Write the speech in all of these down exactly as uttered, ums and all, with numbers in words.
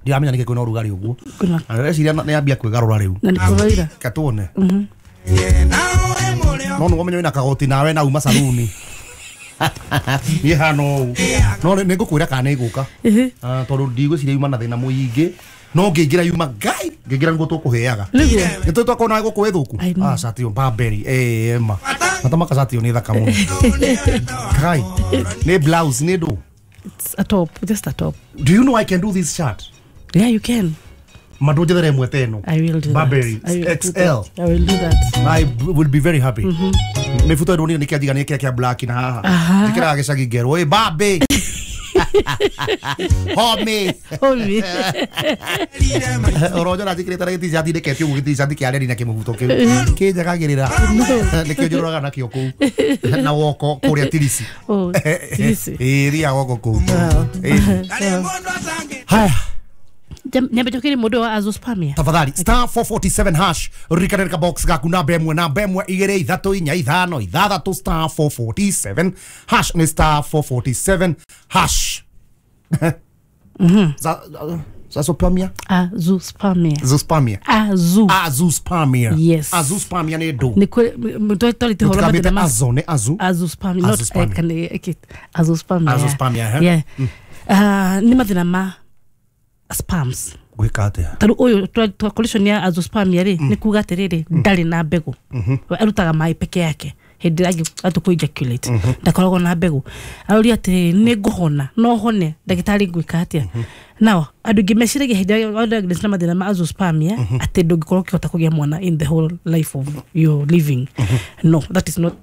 Ndiramenya nĩkĩ kwĩna ũrugarĩ ũguo. Kwĩna Na ndĩreciria nĩ ambia kwĩgarũra rĩu. Na nĩ kũroira. Katuone. No nĩguo menye wĩna kagoti nawe na uma saruni. Niĩ hana ũũ. No nĩ ngũkwĩra kana nĩ ngũka. Ĩhĩ. Ah, tondũ ndigwĩciria yuma na thĩna mũingĩ. No ngĩingĩra yuma ngai ngĩingĩra nĩguo tũkũheaga. Nĩguo. Nĩ tũĩ twakorwo nawe gũkũ ĩthũku. I know. Ah, cati ĩyo Burberry. Eh, ma. Matama kacati ĩyo nĩ thaka mũno. Kai. Nĩ blouse nĩ ndũ. It's a top, just a top. Do you know I can do this shirt? Yeah, you can. Ma ndũnjethere ĩmwe ta ĩno. I will do Burberry that. I will do X L. that. I will do that. I b- will be very happy. Mĩbuto ĩno nĩ kĩanjiga nĩ kĩrĩa kĩa black na haha. Aha. Njĩkĩraga gĩcagi ngerwo, "Ĩ babe." Homie. Homie. Ũronjora njĩkĩrĩte na gĩt-shirt ndĩkete ũguo gĩt-shirt kĩa reri na kĩmũbuto kĩu. Kĩnjagagĩrĩra. Nĩkĩo njũrũraga nakĩo kũu. Na woko kũrĩa Tirisi. Oh, Tirisi. Ĩĩ thiaga woko kũu. Wow. Ĩĩ. Haya. Nyambe njokere mũndũ wa azoospermia. Tafadhali star four forty-seven hash ririkana box gaku namba ĩmwe namba ĩmwe igĩrĩ ithatũ inya ithano ithathatũ star four forty-seven hash nĩ star four forty-seven hash. Za Zazoospermia? Azoospermia. Zoospermia. Azu. Azoospermia. Yes. Azoospermia nĩ ndũ. Nĩ kwĩ twarĩte ũhoro Tũtikamĩte mathĩna ma azo nĩ azu. Azoospermia not Azoospermia. eh, kana eh, azoospermia. Azoospermia, eh? Yeah. Ah, nĩ mathĩna ma sperms. Gwĩka atĩa? Tarĩu ũyũ twa- twa condition ya azoospermia rĩ nĩ kuga atĩrĩrĩ ndarĩ na mbegũ. Arutaga maĩ peke yake hĩndĩ ĩrĩa angĩ kũ ejaculate ndakoragwo na mbegũ. Aroria atĩrĩrĩ nĩ ngũhona no hone ndagĩtarĩ ngwĩka atĩa? Now andũ aingĩ meciragia hĩndĩ ĩrĩa wa diagnose na mathĩna ma azoospermia atĩ ndũngĩkorwo ũkĩhota kũgĩa mwana in the whole life of your living. No, that is not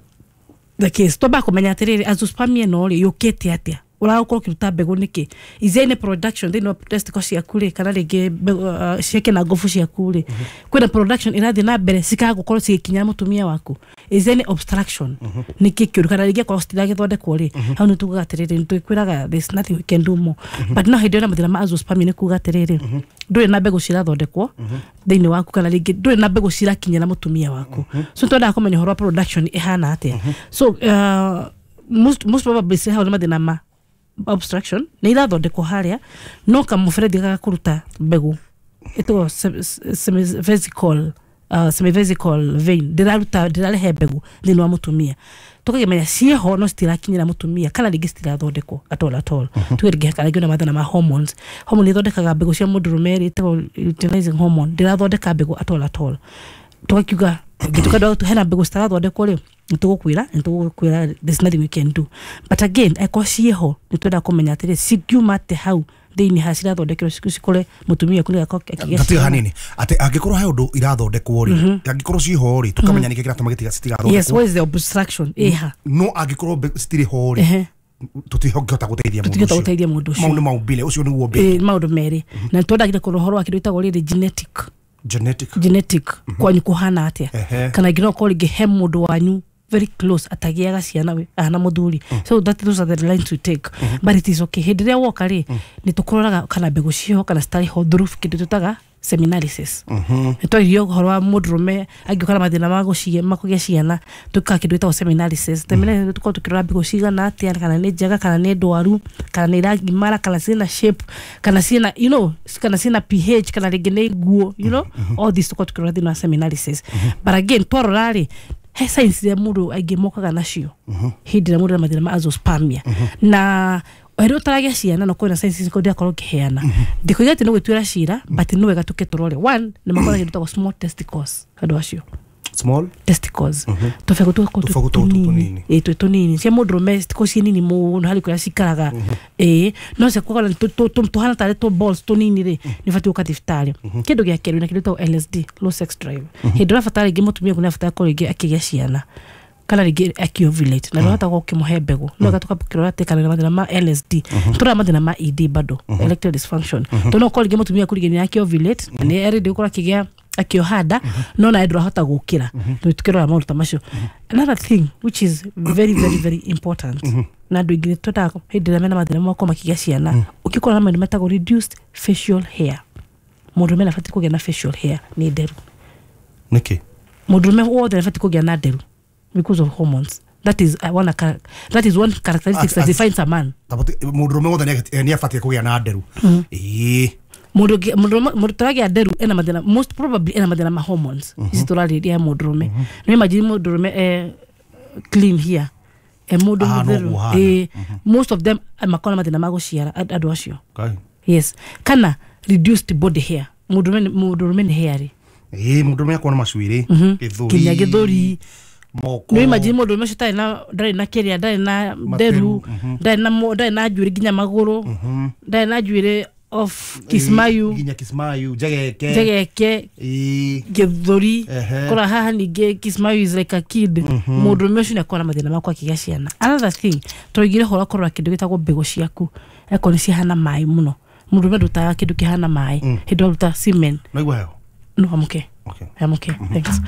the case. Twambaga kũmenya atĩrĩrĩ azoospermia ĩno rĩ yũkĩte atĩa? Ũragũkorwo ũkĩruta mbegũ nĩkĩ? Is there any production thĩinĩ wa testicle ciaku rĩ kana rĩngĩ mbegũ, uh, ciake na ngobu ciaku rĩ kwĩna production ĩrathiĩ na mbere cikaga gũkorwo cigĩkinyĩra mũtumia waku? Is there any obstruction? Nĩkĩ kĩũru kana rĩngĩ akorwo citiragĩthondekwo rĩ hau nĩ tugaga atĩrĩrĩ nĩ twĩkwĩraga there's nothing we can do more. But no hĩndĩ ĩyo na mathĩna ma azoospermia nĩ kuga atĩrĩrĩ ndũrĩ na mbegũ cirathondekwo thĩinĩ waku kana rĩngĩ ndũrĩ na mbegũ cirakinyĩra mũtumia waku. So twendaga kũmenya ũhoro wa production ĩhana atĩa. So uh, most, most probably hau nĩ mathĩna ma obstruction nĩ irathondekwo harĩa no kamũberethi gagakũruta mbegũ ĩtagwo semivesical uh, semivesical vein ndĩraruta ndĩrarehe mbegũ thĩinĩ wa mũtumia tũkakĩmenya ciĩho no citirakinyĩra mũtumia kana rĩngĩ citirathondekwo at all at all. Tuge rĩngĩ kana rĩngĩ na mathĩna ma hormones. Hormone ĩthondekaga mbegũ cia mũndũrũme rĩ ĩtagwo luteinizing hormone ndĩrathondeka mbegũ at all at all. Tugakiuga ngĩtuka hena mbegũ citarathondekwo rĩ nĩtũgũkwĩra nĩtũgũkwĩra there's nothing we can do. But again akorwo ciĩho nĩtwendaga kũmenya atĩrĩ cingiuma atĩ hau thĩinĩ ha cirathondekerwo cikore mũtumia kũrĩa akĩgĩa Gatiga ciana. Hanini atĩ angĩkorwo he ũndũ irathondekwo rĩ angĩkorwo ciho rĩ tũkamenya nĩkĩ kĩratũma gĩtiga Yes, citigathondekwo. what is the obstruction ĩha? No angĩkorwo mbe- citirĩ ho rĩ Ehe. tũtingĩhota gũteithia mũndũ Tũtingĩhota ũcio. gũteithia mũndũ ũcio. Mau nĩ maumbile ũcio nĩguo mbere. Ĩ, maũndũ merĩ na nĩtwendagire kũrora ũhoro wa kĩndũ gĩtagwo rĩrĩ genetic. Genetic. Genetic kwanyu kũhana atĩa Ehe. kana nginya ũkorwo rĩngĩ he mũndũ wanyu very close atagĩaga ciana we ahana mũthuri. So that those are the lines we take, but it is okay hĩndĩ ĩrĩa woka rĩ nĩ tũkũroraga kana mbegũ ciĩho kana citarĩ ho through kĩndũ tũtaga seminalysis. Nĩ twaririe ũhoro wa mũndũrũme angĩũka na mathĩna ma gũcie- ma kũgĩa ciana twĩkaga kĩndũ gĩtagwo seminalysis. Seminalysis tũkorwo tũkĩrora mbegũ cigana atĩa kana nĩ njega kana nĩ ndwaru kana nĩ iragimara kana ciĩna shape kana ciĩna you know kana ciĩna pH kana rĩngĩ nĩ nguo you know all this tũkorwo tũkĩrora thĩinĩ wa seminalysis. But again twarora rĩ he signs iria mũndũ aingĩ mokaga nacio hĩndĩ ĩrĩa mũndũ ena mathĩna ma azoospermia na hĩndĩ ũtaragĩa ciana no kwĩna signs ici ndĩrakorwo ngĩheana ndikuiga atĩ nĩ gwĩtuĩra cira but nĩ wega tũke tũrore. One nĩ makoragwo kĩndũ gĩtagwo small testicles andũ acio. Small Testicles tũbegũ tũgakorwo twĩ Tũbegũ tũu tũnini. tũnini. Ĩ twĩ tũnini cia mũndũrũme citikorwo ciĩ nini mũno harĩ kũrĩa cikaraga ĩ no ciakorwo tũhana tarĩ tũ balls tũnini rĩ nĩ ũbatiĩ gũka thibitarĩ. Kĩndũ gĩa kerĩ na kĩndũ gĩtagwo L S D, low sex drive. Hĩndĩ ũrabatara rĩngĩ mũtumia ũguo nĩ abatara korwo rĩngĩ akĩgĩa ciana kana rĩngĩ akiovulate na ndũrahota gũkorwo ũkĩmũhe mbegũ no wega tũkakĩrora atĩ kana nĩ mathĩna ma L S D tũrora mathĩna ma E D bado erectile dysfunction tondũ no ũkorwo rĩngĩ mũtumia aku rĩngĩ nĩ akiovulate na nĩ arĩ gũkorwo akĩgĩa akĩoha nda no nawe ndũrahota gũkĩra tũkĩrora maũndũ ta macio. Another thing which is very very very important na andũ aingĩ twendaga hĩndĩ ĩrĩa mena mathĩna makorwo makĩgĩa ciana ũngĩkorwo na maũndũ metagwo reduced facial hair. Mũndũrũme nabatiĩ kũgĩa na facial hair nĩ nderu. Nĩkĩ? Mũndũrũme wothe nabatiĩ kũgĩa na nderu because of hormones. That is uh, one char- that is one characteristics As- that as- defines a man. Mũndũrũme wothe nĩ abatiĩ kũgĩa na nderu ĩĩ. Mundu mundu turagia nderu ena mathina, most probably ena mathina ma hormones ici turarĩria mundurume. No imagine mundurume eh clean here e mundu mutheru, eh most of them makona mathina ma guciara andu acio. Yes, kana reduced body hair, mundurume mundurume ni hairy. Eh mundurume akona macuiri githuri kinya githuri moko. No imagine mundu ucio tari na ndari na kiria, ndari na nderu, ndari na ndari na njuiri nginya maguru, ndari na njuiri of Kismayu, nginya Kismayu jegeke jegeke githuri kora haha ninge Kismayu is like a kid. Mundu ucio akona mathina makwa akigia ciana. Another thing tuigire hora korora kindu gitagwo mbegu ciaku eko ni cihana mai muno. Mundu ume ndutaga kindu kihana mai hindi waruta semen. No igua heho. No, I'm okay. Okay. I'm okay. Thanks.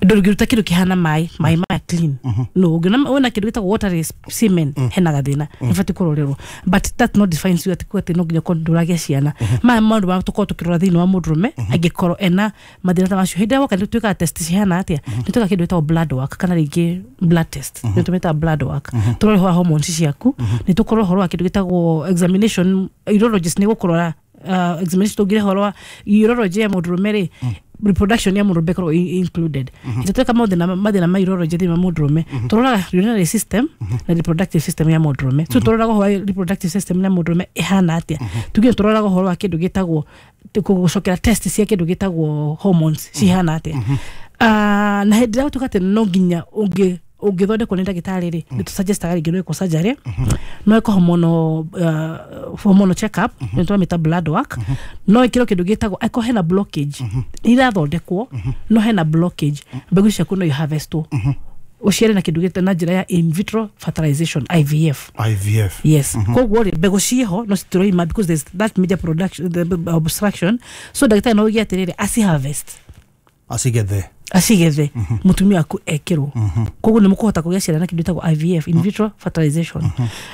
Ndũngĩruta kĩndũ kĩhana mai, mai maya clean. No, ũngĩona wona kĩndũ gĩtagwo water semen hena gathĩna, nĩ kũrorerwo. But that not defines you atĩ atĩ no nginya ũkorwo ndũragĩa ciana. Maya maũndũ ma tũkorwo tũkĩrora thĩinĩ wa mũndũrũme angĩkorwo ena mathĩna ta macio. Hĩndĩ ĩrĩa woka nĩ twĩkaga test cihana atĩa? Nĩ twĩkaga kĩndũ gĩtagwo blood work kana rĩngĩ blood test. Nĩ tũmĩtaga blood work. Tũrore ũhoro wa hormones ciaku, nĩ tũkorwo ũhoro wa kĩndũ gĩtagwo examination, urologist nĩ gũkũrora uh, examination tũngire ũhoro wa urology ya mũndũrũme rĩ, reproduction ya mũndũrũme ĩkorwo included. Ĩtatwĩka mathĩna mathĩna ma urology thĩinĩ wa mũndũrũme, tũroraga urinary system na reproductive system ya mũndũrũme. So tũroraga ũhoro wa reproductive system ya mũndũrũme ĩhana atĩa. Tugire tũroraga ũhoro wa kĩndũ gĩtagwo gũcokera test cia kĩndũ gĩtagwo hormones cihana atĩa. Ah, na hĩndĩ ĩrĩa gũtuĩka atĩ no nginya ũngĩ ũngĩthondekwo nĩ ndagĩtarĩ rĩ, nĩ tũsuggestaga rĩngĩ no ĩkwo surgery, no ĩkwo hormonal uh, hormonal check up, nĩ tũramĩta blood work, no ĩkĩrwo kĩndũ gĩtagwo angĩkorwo hena blockage irathondekwo, no hena blockage mbegũ ciaku no iharvestwo ũciare na kĩndũ gĩtagwo na njĩra ya in vitro fertilization, I V F. I V F. Yes. Koguo rĩ mbegũ ciĩho no citiroima because there's that major production the obstruction, so ndagĩtarĩ no oige atĩrĩrĩ aci harvest acigethe acigethe mutumia aku ekirwo. Koguo nĩ mũkũhota kũgĩa ciana na kĩndũ gĩtagwo I V F, in vitro fertilization.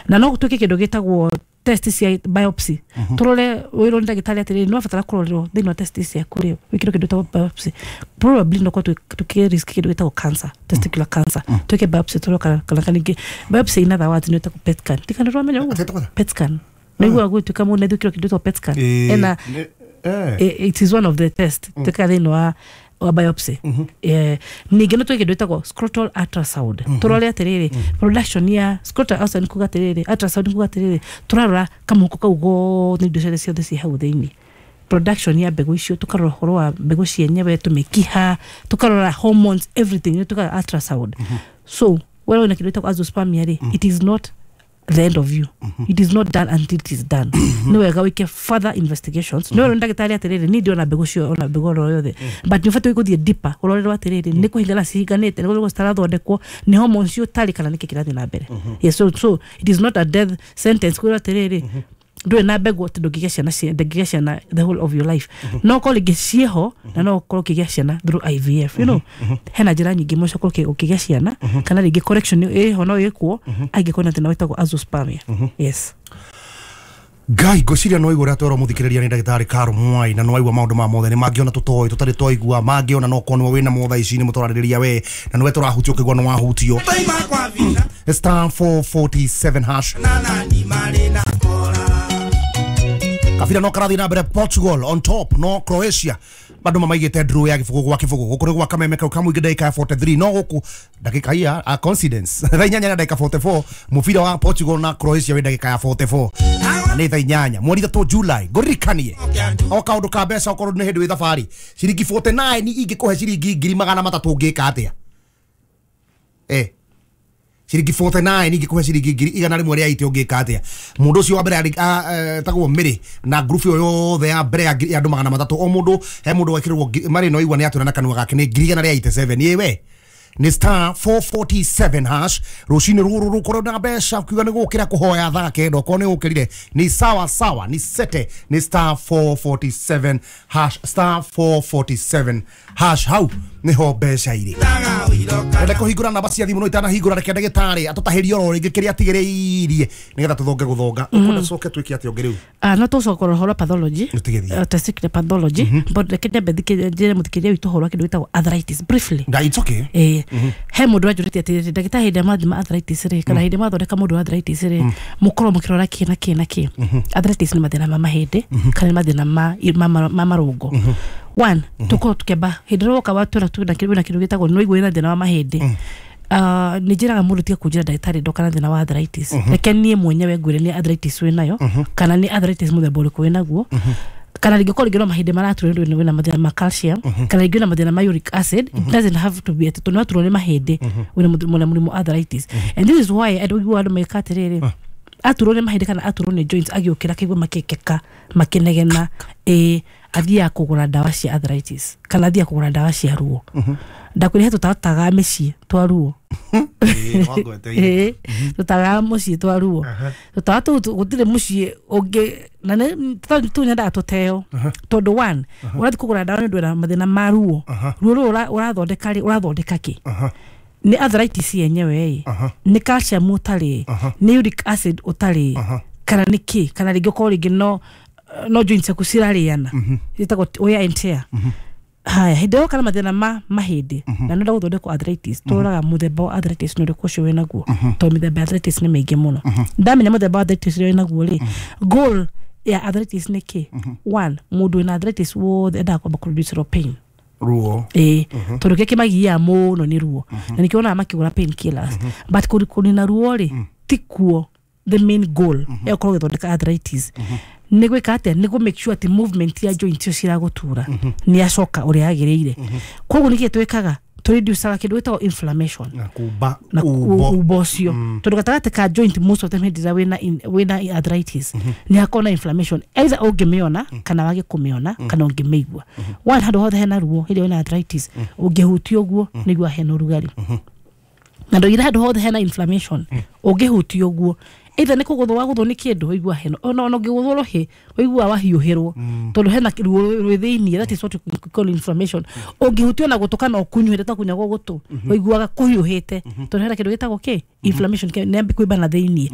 Na no gũtuĩke kĩndũ gĩtagwo test cia biopsy. Tũrore wĩrwo nĩ ndagĩtarĩ atĩrĩrĩ nĩ wabatara kũrorerwo thĩinĩ wa test ciaku rĩ, wĩkĩrwo kĩndũ gĩtagwo biopsy. Probably no korwo tũkĩ risk kĩndũ gĩtagwo cancer, testicular cancer. Twĩke biopsy tũrore kana kana ningĩ biopsy in other words nĩ ĩtagwo PET scan. Tikana ndũramenya ũguo? PET scan. Nĩguo gũtuĩka mũndũ nĩ gwĩkĩrwo kĩndũ gĩtagwo PET scan. Ena it is one of the test twĩkaga thĩinĩ wa wa biopsy. Eh, ningĩ no twĩke kĩndũ gĩtagwo scrotal ultrasound. Tũrore atĩrĩrĩ production ya scrotal ultrasound kuga atĩrĩrĩ, ultrasound kuga atĩrĩrĩ tũrarora kamũhuko kau gothe indo ciothe ciothe ciĩ hau thĩinĩ, production ya mbegũ icio, tũkarora ũhoro wa mbegũ cienyewe, tũmĩkiha, tũkarora hormones, everything nĩ tũkaga ultrasound. So wewe wĩna kĩndũ gĩtagwo azoospermia rĩ, it is not the end of you. It is not done until it is done. No wega wike further investigations. No ndagĩtarĩ atĩrĩrĩ ni ndiona mbegũ cio ona mbegũ oro yothe, but nĩ ũbatiĩ gũthiĩ deeper ũrorerwo atĩrĩrĩ nĩ kũhingana cihinganĩte, nĩ gũkorwo citarathondekwo, nĩ hormones cio ũtarĩ kana nĩkĩ kĩrathiĩ na mbere. Yes, so, so it is not a death sentence kwĩrwo atĩrĩrĩ ndũrĩ na mbegũ atĩ ndũngĩgĩa ciana ndũngĩgĩa ciana the whole of your life. No korwo rĩngĩ ciĩho na no ũkorwo ũkĩgĩa ciana through I V F, you know. Hena njĩra nyingĩ mũno cia gũkorwo ũkĩgĩa ciana kana rĩngĩ correction ĩho no ĩkwo angĩkorwo na thĩna wĩtagwo azoospermia. Yes. Ngai ngwĩciria no igũrĩa twerwo mũthikĩrĩria nĩ ndagĩtarĩ Caro Mwai na no aigua maũndũ ma mothe nĩ mangĩona tũtoĩ tũtarĩ twaigua mangĩona no korwo nĩwe wĩna motha ici nĩ mũtũrarĩrĩria we na nĩwe tũrahutio ũkĩigua nĩ wahutio. Star four forty-seven hash. Kabira no karathi na mbere Portugal on top no Croatia bado mamaigite draw ya gibugu gwa kibugu guku ni gwa kameme kau kamwingi ndagika ya forty-three no guku ndagika iya a coincidence thaa inyanya na ndagika forty-four mubira wa Portugal na Croatia wi ndagika ya forty-four na ni thaa inyanya mweri ithatu July ngũririkanie o kaundu ka mbeca okorwo nĩ hĩndĩ wĩ thabarĩ ciringi forty-nine ingĩkũhe ciringi ngiri magana matatũ ũngĩka atĩa eh ciringi forty-nine ingĩkũhe ciringi ngiri igana rĩmwe rĩa eighty ũngĩka atĩa mũndũ ũcio wa mbere etagwo Mĩrĩ na group ĩyo yothe ya mbere ya andũ magana matatũ o mũndũ he mũndũ wekĩrĩrwo marĩ no igua nĩ atwĩra na kanua gake nĩ ngiri igana rĩa eighty-seven ĩwe nĩ star four forty-seven hash rũcinĩ rũrũ rũkorwo na mbeca ukiuga nĩ gũkĩra kũhoya thaa kenda okorwo nĩ ũkĩrire nĩ sawa sawa nĩ sete nĩ star four forty-seven hash star four forty-seven hash hau Niho mbeca irĩ. Enda kũhingũra namba cia thimũ no itanahingũra reke ndagĩtarĩ atũtahĩrie oro rĩngĩ kĩrĩa atigĩrĩirie nĩgetha tũthonge gũthonga. Ũkwenda tũcoke twĩke atĩa ũngĩ rĩu? Ah, no tũcoka ũhoro pathology. Nĩtũgĩthiĩ. Uh, testicular pathology, but reke nyambe thikĩ- njĩre mũthikĩria witũ ũhoro wa kĩndũ gĩtagwo arthritis briefly. Na it's okay. Ĩĩ, he mũndũ anjũrĩtie atĩrĩrĩ, ndagĩtarĩ, hĩndĩ ĩrĩa mwathima arthritis rĩ, kana hĩndĩ ĩrĩa mwathondeka mũndũ wa arthritis rĩ, mũkorwo mũkĩrora kĩ na kĩ na kĩ? Arthritis nĩ mathĩna ma mahĩndĩ kana nĩ mathĩna ma ma ma marũngo. One, tũkorwo tũkĩamba hĩndĩ ĩrĩa woka watwĩra twĩna kĩndũ wĩna kĩndũ gĩtagwo nĩ waigua wĩna thĩna wa mahĩndĩ, Uh, nĩ njĩraga mũndũ tiga kũnjĩra ndagĩtarĩ ndoka na thĩna wa arthritis, reke niĩ mwenyewe ngwĩre nĩ arthritis wĩnayo kana nĩ arthritis mũthemba ũrĩkũ wĩnaguo, kana rĩngĩ korwo rĩngĩ no mahĩndĩ maraturwo nĩ wĩna mathĩna ma calcium, kana rĩngĩ wĩna mathĩna ma uric acid. It doesn't have to be atĩ tondũ nĩwaturwo nĩ mahĩndĩ wĩna mũth- wĩna mũrimũ arthritis. And this is why andũ aiguaga andũ meka atĩrĩrĩ, aturwo nĩ mahĩndĩ kana aturwo nĩ joints, agĩũkĩra akaigua makĩkeka makĩnegena, ĩ athiaga kũgũra ndawa cia arthritis kana athiaga kũgũra ndawa cia ruo. Ndakwĩra he tũtataga mĩciĩ twa ruo. Ĩĩ, tũtagaga mũciĩ twa ruo. Tũtawa tũu tũ- gũtirĩ mũciĩ ũngĩ na nĩ tũ tũu nyendaga tũteo, tondũ one, ũrathiĩ kũgũra ndawa nĩ ũndũ wĩna mathĩna ma ruo. Ruo rũrũ ũra- ũrathondeka rĩ, ũrathondeka kĩ? Nĩ arthritis yenyewe ĩ, nĩ calcium ũtarĩ, nĩ uric acid ũtarĩ, kana nĩ kĩ? Kana rĩngĩ ũkorwo rĩngĩ no no joints ciaku cirarĩana, ĩtagwo wear and tear. Haya, hĩndĩ ĩyo kana mathĩna ma mahĩndĩ na nĩenda gũthondekwo arthritis, tũroraga mũthemba wa arthritis nĩ ũrĩkũ ũcio wĩnaguo, tondũ mĩthemba ya arthritis nĩ mĩingĩ mũno. Ndamenya mũthemba wa arthritis ũrĩa wĩnaguo rĩ, goal ya arthritis nĩ kĩ? One, mũndũ wĩna arthritis wothe endaga kwamba kũreduce pain. Ruo. Ĩĩ, tondũ kĩrĩa kĩmagiaga mũno nĩ ruo, na nĩkĩo wonaga makĩgũra pain killers. But kũri- kũnina ruo rĩ, ti kuo the main goal ya gũkorwo ũgĩthondeka arthritis. Nĩ gwĩka atĩa? Nĩ kũ make sure atĩ movement ya joint icio ciragũtura nĩ yacoka ũrĩa yagĩrĩire. Koguo nĩkĩ twĩkaga? Tũreducaga kĩndũ gĩtagwo inflammation na kumba na umbo. Umbo ũcio, tondũ gatagatĩ ka joint, most of them, hĩndĩ ĩrĩa wĩna in- wĩna arthritis nĩ hakoragwo na inflammation, either ũngĩmĩona kana wage kũmĩona kana ũngĩmĩigua. One, handũ hothe hena ruo hĩndĩ ĩrĩa wĩna arthritis, ũngĩhutia ũguo nĩguo hena ũrugarĩ, na ndoigire handũ hothe hena inflammation, ũngĩhutia ũguo, either nĩ kũgũthwo wagũthwo nĩ kĩndũ, ũigua hena, ona ona ũngĩgũthwo rũhĩ ũigua wahiũhĩrwo, tondũ hena ruo rwĩ thĩiniĩ. That is what we call inflammation. Ũngĩhutio na gũtũ kana ũkunyuhĩte ta kunyagwo gũtũ, ũiguaga kũhiũhĩte, tondũ hena kĩndũ gĩtagwo kĩ inflammation kĩ- nĩ yambi kũimba na thĩiniĩ.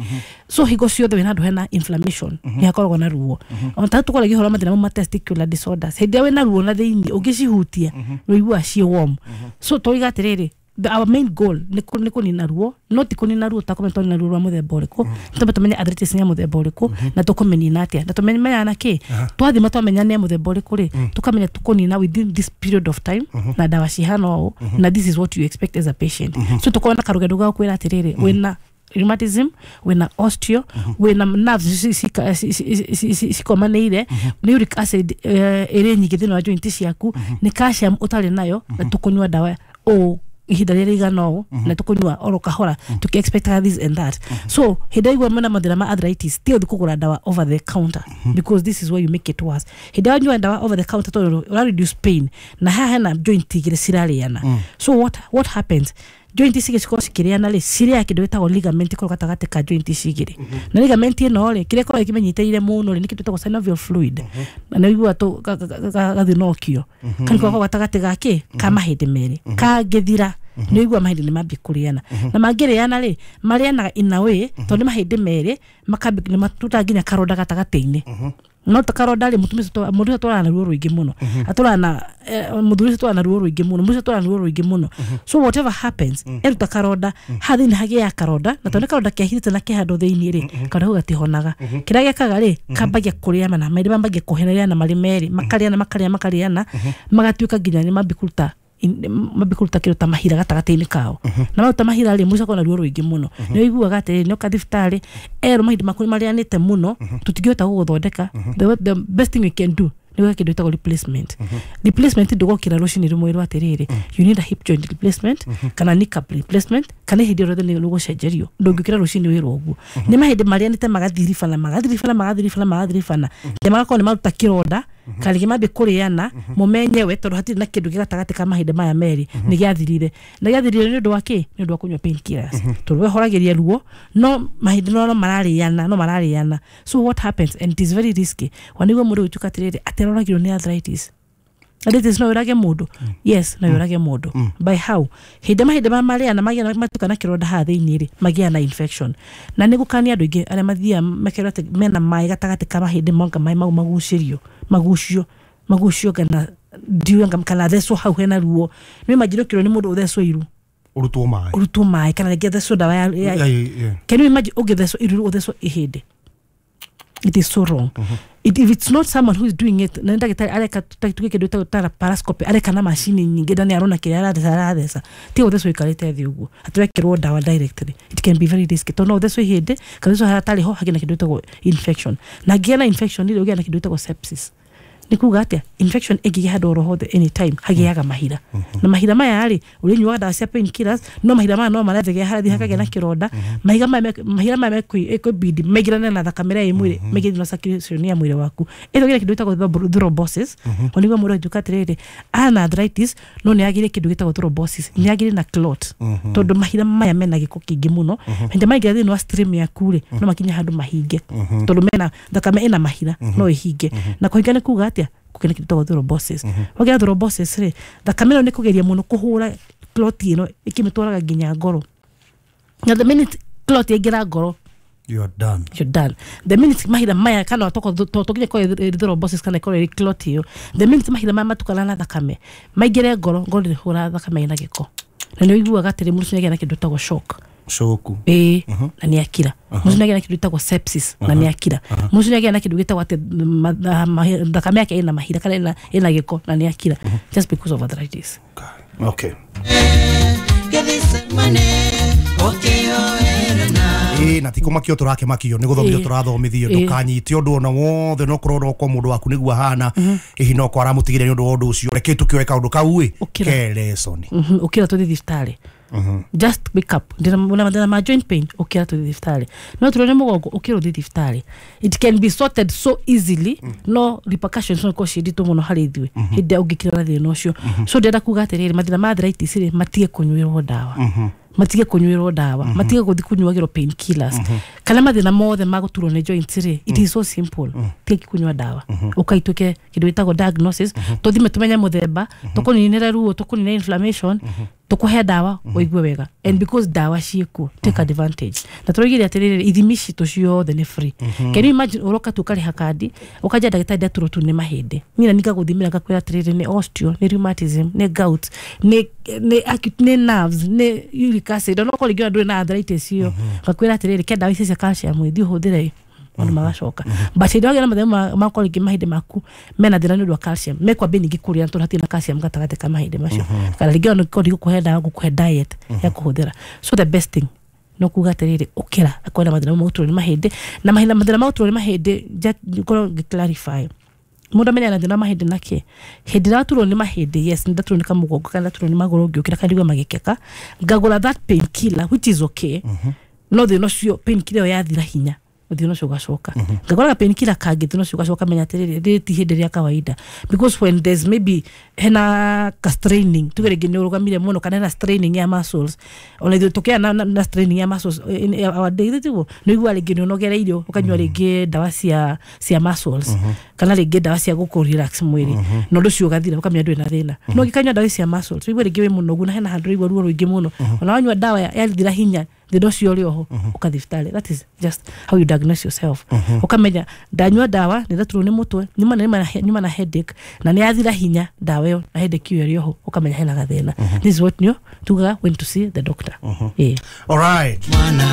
So hingo ciothe wĩna handũ hena inflammation nĩ hakoragwo na ruo. Ona ta tũkoragia ũhoro wa mathĩna mau ma testicular disorders, hĩndĩ ĩrĩa wĩna ruo na thĩiniĩ, ũngĩcihutia ũiguaga ciĩ warm. So tũiga atĩrĩrĩ, the, our main goal nĩ kũ- nĩ kũnina ruo, no ti kũnina ruo takũmenya twanina ruo rwa mũthemba ũrĩkũ. Tũmbe tũmenye arthritis nĩ ya mũthemba ũrĩkũ na tũkũmĩnina atĩa, na tũmenyaga na kĩ twathima twamenya nĩ ya mũthemba ũrĩkũ rĩ, tũkamenya tũkũnina within this period of time na ndawa cihana ũũ, na this is what you expect as a patient. So tũkorwo na karũgendo ga kwĩra atĩrĩrĩ, wĩna rheumatism, wĩna osteo, wĩna nerves ci- ci- ci- ci- ci- ci- cikomanĩire, nĩ uric acid eh, ĩrĩ nyingĩ thĩinĩ wa joint ciaku, nĩ calcium ũtarĩ nayo, na tũkũnyua ndawa ũũ ihinda rĩrĩa rĩigana ũũ, na tũkũnyua oro kahora tũkĩ-expectaga this and that. So hĩndĩ ĩrĩa mena mathĩna ma arthritis, ti ũthiĩ kũgũra ndawa over the counter, because this is where you make it worse. Hĩndĩ ĩrĩa wanyua ndawa over the counter, tondũ ũra reduce pain na haha hena joint igĩrĩ cirarĩana. So what, what happens, joint ici cikorwo cikĩrĩana rĩ, cirĩaga kĩndũ gĩtagwo ligament ĩkorwo gatagatĩ ka joint ici igĩrĩ. Na ligament ĩno rĩ, kĩrĩa ĩkoragwo ĩkĩmĩnyitĩrĩire mũno rĩ, nĩ kĩndũ gĩtagwo synovial fluid, na nĩ ũiguaga tũ- ga- ga- ga- gathinokio kana koragwo gatagatĩ ga kĩ ka mahĩndĩ merĩ. Kangĩthira, nĩ ũigua mahĩndĩ nĩ mambie kũrĩana, na mangĩrĩana rĩ, marĩanaga in a way tondũ nĩ mahĩndĩ merĩ makambi nĩ matutaga nginya karonda gatagatĩ-inĩ. No ta karonda rĩ, mũtumia ũcio twa- mũndũ ũcio atwaraga na ruo rũingĩ mũno, atwaraga na eh, mũthuri ũcio atwaraga na ruo rũingĩ mũno, mũndũ ũcio atwaraga na ruo rũingĩ mũno. So whatever happens, eruta karonda haha thĩinĩ, hagĩaga karonda, na tondũ nĩ karonda kehithĩte na kĩhandũ thĩinĩ rĩ, karonda kau gatihonaga. Kĩrĩa gekaga rĩ, kambagia kũrĩana na mahĩndĩ mambagia kũhererana marĩ merĩ, makarĩana, makarĩana, makarĩana, magatuĩka nginya nĩ mambia kũruta in- mambia kũruta kĩndũ ta mahira gatagatĩ-inĩ kao. Na maruta mahira rĩ, mũico na ruo rũingĩ mũno. Nĩ ũiguaga atĩrĩrĩ, nĩ oka thibitarĩ erwo mahĩndĩ maku nĩ marĩanĩte mũno, tũtingĩhota gũgũthondeka. the, the best thing we can do nĩ gwĩka kĩndũ gĩtagwo replacement. Replacement ndũgokĩra rũcinĩ rũmwe rwa atĩrĩrĩ, you need a hip joint replacement kana kneecap replacement kana hĩndĩ ĩyo rĩothe nĩ gũcenjerio. Ndũngĩũkĩra rũcinĩ wĩrwo ũguo. Nĩ mahĩndĩ marĩanĩte magathiribana, magathiribana, magathiribana, magathiribana nginya magakorwo nĩ maruta kĩronda, kana rĩngĩ mambie kũrĩana mo menyewe, tondũ hatirĩ na kĩndũ gĩ gatagatĩ ka mahĩndĩ maya merĩ. Nĩ gĩathirire, na gĩathirire nĩ ũndũ wa kĩ? Nĩ ũndũ wa kũnyua painkillers, tondũ wehoragĩria ruo, no mahĩndĩ no no mararĩana, no mararĩana. So what happens, and it is very risky, wanĩguo mũndũ gũtuĩka atĩrĩrĩ, atĩ aroragirwo nĩ arthritis. Arthritis no ĩrage mũndũ? Yes, no ĩrage mũndũ. By how? Hĩndĩ mahĩndĩ ma marĩa na magĩa matuka na kĩronda haha thĩinĩ rĩ, magĩa na infection. Na nĩ gũkania andũ aingĩ arĩa mathiaga makerwo atĩ mena maĩ gatagatĩ ka mahĩndĩ, monga maĩ mau magucĩrio, magucio magucio kana ndiũĩ anga kana thecwo hau hena ruo. Nĩ imagine ũkĩrwo nĩ mũndũ ũthecwo iru, ũrutwo maĩ, ũrutwo maĩ, kana rĩngĩ thecwo ndawa ya, ya Yeah, yeah, yeah. Can you imagine ũngĩthecwo iru, ũthecwo ihĩndĩ? It is so wrong. It, if it's not someone who is doing it na ndagĩtarĩ areka tuge kĩndũ gĩtagwo ta laparoscopy, areka na macini nyingĩ na nĩ arona kĩrĩa aratheca aratheca, ti gũthecwo ikarĩte thĩ ũguo atĩ wekĩrwo ndawa directly. It can be very risky tondũ no ũthecwo ihĩndĩ kana ũthecwo harĩa hatarĩ ho hagĩe na kĩndũ gĩtagwo infection, na ngĩgĩa na infection rĩ, ũgĩa na kĩndũ gĩtagwo sepsis. Nĩ kuga atĩa? Infection ĩngĩgĩa handũ oro hothe anytime hagĩaga mahira, na mahira maya rĩ, ũrĩnyuaga ndawa cia painkillers, no mahira maya no marathegea harathiĩ hakagĩa na kĩronda. Mahiga maya me- mahira maya mekwĩbidi maingĩrane na thakame ĩrĩa ĩ mwĩrĩ, maingĩre thĩinĩ wa circulation ya mwĩrĩ waku, ĩtho gĩna kĩndũ gĩtagwo thrombo- thrombosis. O nĩguo mũndũ angiuga atĩrĩrĩ, ana arthritis no nĩ agĩre kĩndũ gĩtagwo thrombosis, nĩ agĩre na clot, tondũ mahira maya mena gĩko kĩingĩ mũno. Hĩndĩ maingĩra thĩinĩ wa stream yaku rĩ, no makinye handũ mahinge, tondũ mena thakame ĩna mahira no ĩhinge. Na kũhinga nĩ kuga atĩa? Kũgĩa na kĩndũ gĩtagwo thrombosis. Wagĩa thrombosis rĩ, thakame ĩno nĩ kũgeria mũno kũhũra clot ĩno ĩkĩmĩtwaraga nginya ngoro, na the minute clot yaingĩra ngoro, You are done. You're done. The minute mahira maya kana toko tokinye kwa thrombosis kana ikorwo ĩrĩ clot ĩyo, the minute mahira maya matukana na thakame maingĩre ngoro, ngoro ndĩhũra thakame ĩna gĩko, na nĩ ũiguaga atĩrĩ mũndũ ũcio nĩagĩa na kĩndũ gĩtagwo shock. Shoku. Ĩĩ, na nĩ akira. Mũndũ ũcio nĩagĩa na kĩndũ gĩtagwo sepsis, na nĩ akira. Mũndũ ũcio nĩagĩa na kĩndũ gĩtagwo atĩ ma- ma- ma- thakame yake ĩna mahira kana ĩna ĩna gĩko, na nĩ akira, just because of arthritis. Okay. Ĩĩ, na ti kũmakio tũrakĩmakio, nĩ gũthomithio Ĩĩ. tũrathomithio. Ĩĩ. Ndũkanyite ũndũ ona wothe, no korwo no kwa mũndũ waku nĩguo ahana ĩhi, no kwa aramũtigire nĩ ũndũ wa ũndũ ũcio, reke tũkĩoe kaũndũ kau ĩ Ũkĩra. ke lesson. Mhm, ũkĩra tũthiĩ thibitarĩ. Just wake up, ndĩna na mathĩna ma joint pain, ũkĩra tũthiĩ thibitarĩ. No tũrwo nĩ mũgongo, ũkĩra ũthiĩ thibitarĩ. It can be sorted so easily, no repercussions no ikorwo ciĩ nditũ mũno harĩ ithuĩ hĩndĩ ĩrĩa ũngĩkira na thĩna ũcio. So ndĩrenda kuga atĩrĩrĩ, mathĩna ma arthritis rĩ, matige kũnyuĩrwo ndawa, matige kũnyuĩrwo ndawa, matige gũthiĩ kũnyuagĩrwo painkillers kana mathĩna mothe ma gũturwo nĩ joints rĩ. It is so simple. Tiga kũnyua ndawa, ũkaituĩke kĩndũ gĩtagwo diagnosis, tũthime tũmenye mũthemba, tũkũninĩre ruo, tũkũnine inflammation, tũkũhe ndawa ũigue wega. And because ndawa ciĩkuo, take advantage. Na tũroigire atĩrĩrĩ, ithimi citũ ciothe nĩ free. Can you imagine ũroka tu ũkarĩha kandi, ũkanja ndagĩtarĩ ndaturwo tu nĩ mahĩndĩ, niĩ na ningagũthimĩra ngakwĩra atĩrĩrĩ, nĩ osteo, nĩ rheumatism, nĩ gout, nĩ nĩ acute, nĩ nerves, nĩ uric acid, ona okorwo rĩngĩ ona ndũrĩ na arthritis ĩyo, ngakwĩra atĩrĩrĩ, ke ndawa ici cia calcium thiĩ ũhũthĩre, maũndũ magacoka. But hĩndĩ ĩrĩa wagĩa na mathĩna ma- makorwo rĩngĩ mahĩndĩ maku mena thĩna nĩ ũndũ wa calcium, mekwambia ningĩ kũrĩa tondũ hatirĩ na calcium gatagatĩ ka mahĩndĩ macio, kana rĩngĩ ona korwo ndigũkũhe ndawa, ngũkũhe diet ya kũhũthĩra. So the best thing no kuga atĩrĩrĩ, ũkĩra akorwo na mathĩna ma gũturwo nĩ mahĩndĩ, na mahinda mathĩna ma gũturwo nĩ mahĩndĩ, ja- ngorwo ngĩ clarify, mũndũ amenyaga na thĩna wa mahĩndĩ nake hĩndĩ ĩrĩa waturwo nĩ mahĩndĩ. Yes, nĩ ndaturwo nĩ kamũgongo kana ndaturwo nĩ magũrũ, ngĩũkĩra kana ndigua magĩkeka, ngagũra that pain killer, which is okay, no thĩna ũcio pain killer ĩyo yathira hinya, thĩna ũcio ũgacoka. Ngagũra pain killer kangĩ, thĩna ũcio ũgacoka. Menya atĩrĩrĩ, rĩrĩ ti hĩndĩ rĩa kawaida, because when there's maybe hena ka straining, tuge rĩngĩ nĩ ũrũgamire mũno kana hena straining ya muscles, ona ithuĩ tũkĩgĩa na, na, na straining ya muscles in our day, tiguo nĩ ũiguaga rĩngĩ nĩ ũnogereirio, ũkanyua rĩngĩ ndawa cia cia muscles kana rĩngĩ ndawa cia gũkũ relax mwĩrĩ, na ũndũ ũcio ũgathira, ũkamenya ndũrĩ na thĩna. No ũngĩkanyua ndawa cia muscles, ũigue rĩngĩ wĩ mũnogu na hena handũ ũraigua ruo rũingĩ mũno, ona wanyua ndawa ya- yathira hinya, thĩna ũcio ũrĩ oho, ũkathiĩ thibitarĩ. That is just how you diagnose yourself. Ũkamenya ndanyua ndawa nĩ ndaturwo nĩ mũtwe, nyuma na nyuma na headache, na nĩ yathira hinya ndawa ĩyo na headache ĩyo ĩrĩ oho, ũkamenya hena gathĩna. This is what nĩyo tugaga when to see the doctor. Ĩĩ. All right. Mwana.